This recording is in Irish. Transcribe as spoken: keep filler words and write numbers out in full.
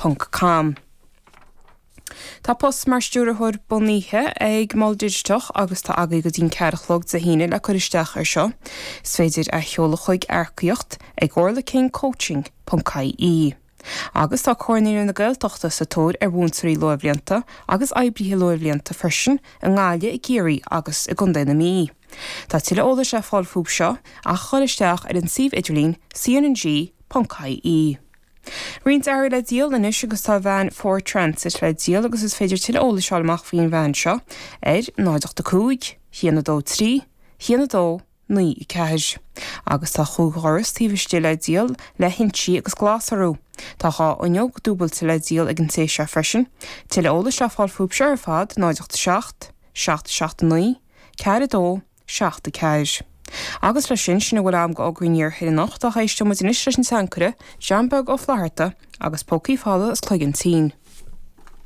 ponc com. Tá post mar stiúrthóir bunaithe ag Mol Digiteach agus tá agaibh go dtí'n ceathair a chlog Dé hAoine le cur isteach ar seo. Is féidir a sheoladh chuig earcaíocht ag orlakingcoaching ponc ie. Agus tá Comhar Naíonraí na Gaeltachta sa tóir ar mhúinteoirí luathbhlianta agus oibrithe luathbhlianta freisin i nGaillimh i gCiarraí agus i gContae na Mí. Tá tuilleadh eolais le fáil fúthu seo ach dul isteach ar an suíomh idirlín cnng ponc ie. Roinnt earraí le díol anois agus tá veain Ford Transit le díol agus is féidir tuilleadh eolais a fháil amach faoin veain seo ar náid ocht a cúig, haon a dó trí, haon a dó, naoi a ceathair. Agus tá cúig dhoras taobh istigh le díol le hinsí agus glas orthu. Tá dhá fhuinneog dúbailte le díol ag an té seo freisin. Tuilleadh eolais le fáil fúthu seo ar fad náid ocht a seacht, seacht seacht a naoi, ceathair a dó, seacht a ceathair. Agus leis sin sin a bhfuil agam d'fhógraí an iarthair anocht ach éisteoidh muid anois leis an tseanchaire, John Beag Ó Flatharta agus Pócaí Folamh as Cloigeann Tinn.